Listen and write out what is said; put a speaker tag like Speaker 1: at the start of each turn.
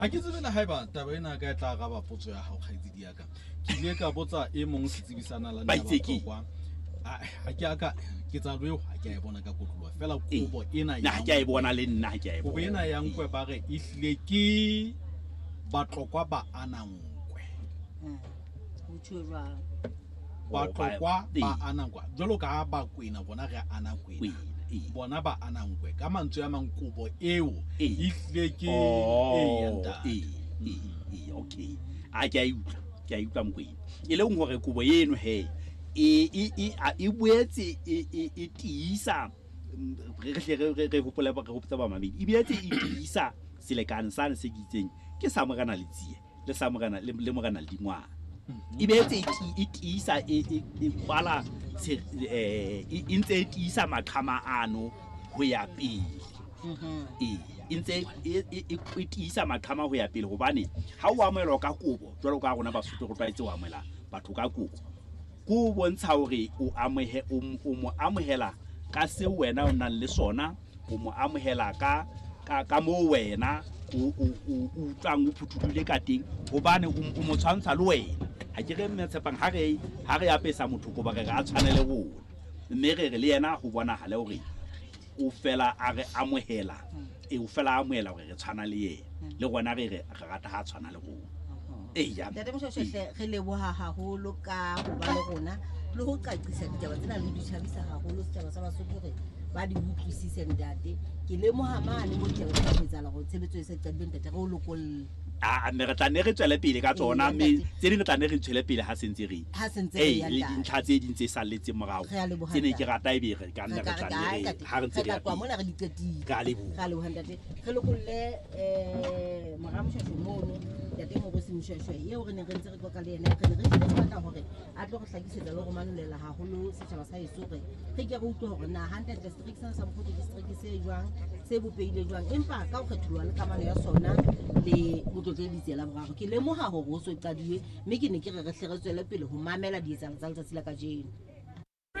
Speaker 1: Ha ke tsebe le haeba taba ena ka e tla araba potso ya hao kgaitsedi ya ka. Ke ile ka botsa e mong setsebi sa nalane
Speaker 2: Ba
Speaker 1: ya
Speaker 2: itse keng?
Speaker 1: Batlokwa. Ha ke a ka ketsahalo eo ha ke a e bona ka kotloloha fela kobo ena
Speaker 2: nna ha ke a e bona le nna ha ke a e
Speaker 1: kobo
Speaker 2: bona
Speaker 1: ena ya nkwe ba re ehlile ke Batlokwa ba ana nkwe.
Speaker 3: Ho tjhuwe jwalo.
Speaker 1: Batlokwa
Speaker 2: Ee.
Speaker 1: ba ana nkwe. Jwalo ka ha Bakwena bona re ana kwena.
Speaker 2: Kwena, ee.
Speaker 1: Bona ba ana nkwe. Ka mantswe a mang kobo eo
Speaker 2: Ee.
Speaker 1: ehlile ke
Speaker 2: Oh,
Speaker 1: ee, ya ntate.
Speaker 2: ee, ee, ee, okay a ke a e utlwa ke a e utlwa mokwena e leng hore kobo eno he e boetse e tiisa re hle re hopole re hopotsa bamamedi e boetse e tiisa selekane sane se ke itseng ke sa morena Letsie le sa morena le morena Ledingwana e boetse e tiisa e kwala e ntse e tiisa maqhama ano ho ya pele. Ee, e ntse e tiisa maqhama ho ya pele hobane ha o amohelwa ka kobo jwalo ka rona Basotho re tlwaetse ho amohela batho ka kobo ke o bontsha hore o amohe o mo amohela ka seo wena o nang le sona o mo amohela ka ka moo wena o utlwang o phuthulohile ka teng hobane o mo tshwantsha le wena ha ke re mme Tshepang ha re ha re apesa motho kobo re re a tshwane le rona mme re re le yena ho bonahale hore o fela a re amohela e o fela a amohela hore re tshwana le yena le rona re re re rata ha tshwana le rona eya.
Speaker 3: Ntate Moshweshwe re leboha haholo ka ho ba le rona le ho qaqisa ditaba tsena le ho di tjhabisa haholo setjhaba sa Basotho hore ba di utlwisise ntate. Ke lemoha mane mo ditaba tse ho etsahala hore tshebetso e se qadile ntate re o lokolle.
Speaker 2: A mme re tla ne re tswele pele ka tsona
Speaker 3: Ee,
Speaker 2: mme
Speaker 3: ntate.
Speaker 2: tse ding re tla ne re tswele pele ha sentse re
Speaker 3: Ha sentse re
Speaker 2: ee
Speaker 3: ya
Speaker 2: le
Speaker 3: ntate.
Speaker 2: dintlha tse ding tse salletseng morao
Speaker 3: Re a leboha,
Speaker 2: tse ne ke
Speaker 3: ntate.
Speaker 2: rata ebe re ka nna
Speaker 3: Re
Speaker 2: re
Speaker 3: ka
Speaker 2: tla
Speaker 3: re
Speaker 2: nne
Speaker 3: ka
Speaker 2: re
Speaker 3: ntate.
Speaker 2: ha re ntse
Speaker 3: Re
Speaker 2: re
Speaker 3: tla
Speaker 2: ya
Speaker 3: tloha
Speaker 2: pele.
Speaker 3: mona re di qetile.
Speaker 2: Re a leboha.
Speaker 3: Re a leboha ntate. Re lokolle mora Moshweshwe mono ntate Morosi Moshweshwe eo re neng re ntse re qoqa le yena re ne re hlile re batla hore a tlo re hlakisetsa le ho manolela haholo setjhaba sa heso hore re ke re utlwe hore na hantlentle setereke sena sa Mokgothu ke setereke se jwang se bopehile jwang empa ka ho kgetholoha le kamano ya sona le Motlotlehi Letsie la Boraro ke lemoha hore ho so qaduwe mme ke ne ke re re hle re tswele pele ho mamela dietsahalo tsa letsatsi la kajeno.